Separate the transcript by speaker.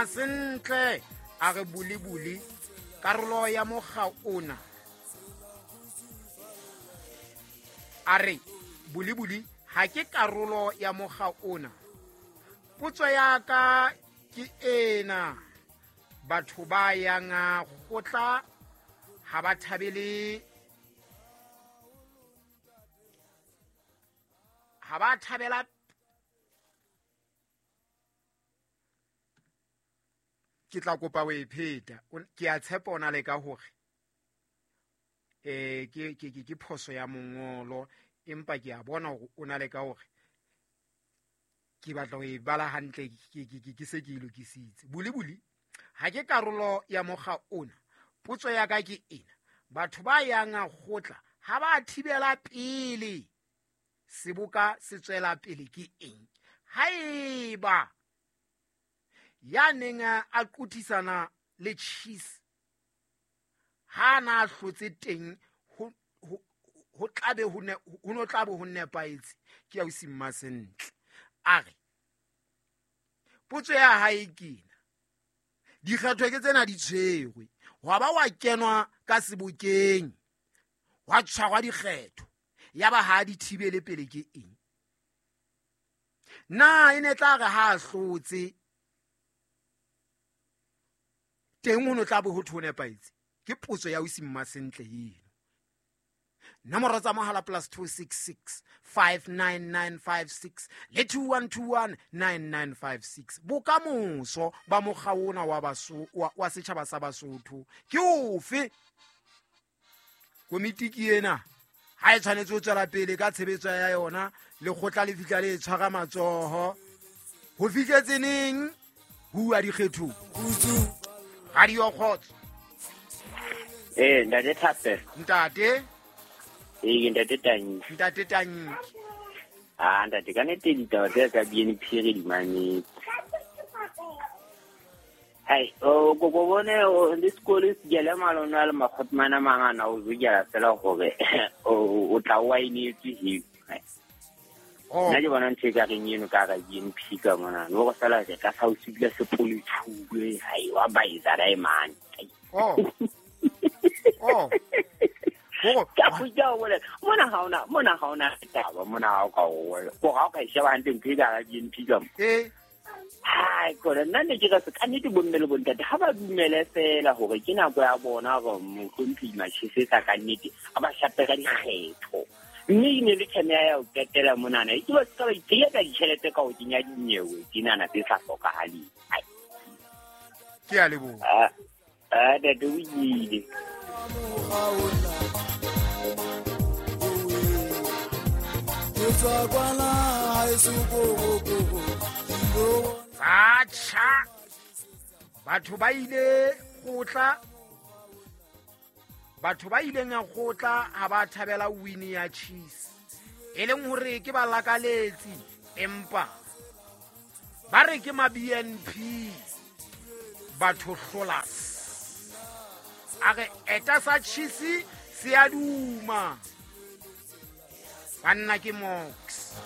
Speaker 1: Mmasentle a re bulibuli karolo ya mokga ona. A re bulibuli ha ke karolo ya mokga ona. Potso ya ka ke ena, batho ba yang kgotla ha ba thabele, ha ba thabela ke tla kopa o e pheta. Ke a tshepa o na le ka hore ke phoso ya mongolo, empa ke a bona hore o na le ka hore ke batla ho e bala hantle, ke se ke e lokisitse. Bulibuli ha ke karolo ya mokga ona. Potso ya ka ke ena, batho ba yang kgotla ha ba thibela pele seboka se tswela pele ke eng? Haeba ya neng a qothisana le Chiefs ha na hlotse teng, ho tlabe ho no tlabe ho nepahetse. Ke ya ausi Mmasentle. A re potso ya hae ke ena, dikgetho ke tsena di tshwerwe, hwa ba wa kenwa ka sebokeng, hwa tshwarwa dikgetho, ya ba ha di thibele pele ke eng? Na e ne tla re ha a hlotse teng ho no tla bo ho thwe ho nepahetse? Ke potso ya ausi Mmasentle eno. Nomoro tsa mohala +266 59956 le 2121 9956. Bokamoso ba mokga ona wa setjhaba sa Basotho ke ofe? Komiti ke ena, ha e tshwanetse ho tswela pele ka tshebetso ya yona, lekgotla le fihla le e tshwara matsoho. Ho fihletse neng ho uwa dikgethong? Radio Kgotso.
Speaker 2: Ntate Thapelo.
Speaker 1: Ntate.
Speaker 2: Ntate Tanki.
Speaker 1: Ntate Tanki.
Speaker 2: Ah, ntate, ka nnete ditaba tse tsa BNP re di mametse. Hai, o kopo bone le sekolo se jele malona le makgotmana mangana o jela fela hore o tla wa inetse he. Nna ke bona ntho e ka reng eno ka ra BNP ka mona. No go fela re ka sa o sibile sepole tshuwe, hai wa baetsa diamond.
Speaker 1: Oh. Oh.
Speaker 2: Ka fuja o bolela mona ha ona, mona ha ona taba, mona ha o ka o ko ha o ka e sheba hantle ntho e ka ra BNP ka mo. Hai, kore nna ne ke re ka nnete bomme le bontate ha ba dumele fela hore ke nako ya bona hore mohlomphehi Machese ka nnete a ba shape ka dikgetho. Mme e ne le theme ya ho qetela monana, e ke ba ska ba itshenyetsa ditjhelete ka ho kenya dinyewe tsenana tse sa hlokahaleng.
Speaker 1: Ke a leboha.
Speaker 2: Ntate o ile.
Speaker 1: Atjha, batho ba ile kgotla, batho ba ileng a kgotla ha ba thabela win ya Chiefs, e leng hore ke ba lakaletsi, empa ba re ke ma BNP batho hlolas. A re eta sa Chiefs se a duma, banna ke moko.